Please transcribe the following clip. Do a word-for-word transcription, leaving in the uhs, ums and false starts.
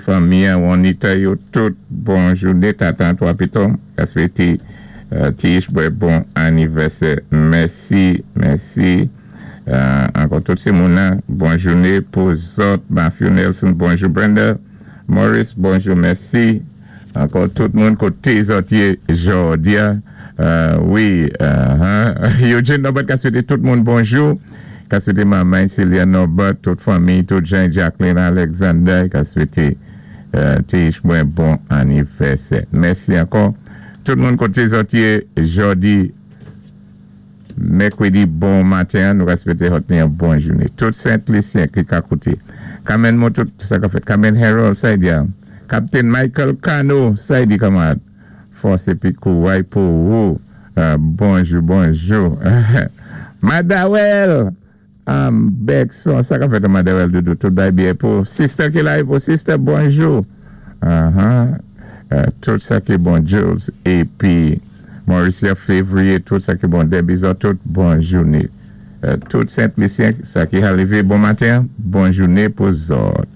Fanmi, Juanita yo tout bon jouné, Tata Antwa Piton, ka swété Tish bon anivèsè. Mèsi, mèsi. Ankò tout sé moun bon jouné pou zòt, Matthew Nelson, bonjou Brenda, Maurice, bonjou, mèsi. Ankò tout moun koté zòt yé jòdi a. Wi, Eugene Norbert ka swété tout moun bonjou. Ka swété manman Celia Norbert, tout fanmi, tout Jean Jacqueline Alexander, ka swété Tish mwen bon anivèsè. Mèsi ankò. Tout moun koté zòt yé jòdi mèkwédi bon maten, nou ka swété yon bon jouné. Tout Sent-Lisyen ki ka kouté. Kamen mou tout sa ka fèt. Kamen Harold Saidia. Captain Michael Cano Saidi kanmarad. Fòs épi kouway pou ou. Bonjou, bonjou. Madawel. Am Bekson, sa ka fèt Madawel doudou, tout bay byen pou. Sister ki la pou sister, bonjou. Tout sa ki bon Jules. Épi Mauricia Février, tout sa ki bon Debbie tout bon jouné. Tout Sent-Lisyen, sa ki arivé bon maten, bon jouné pou zòt.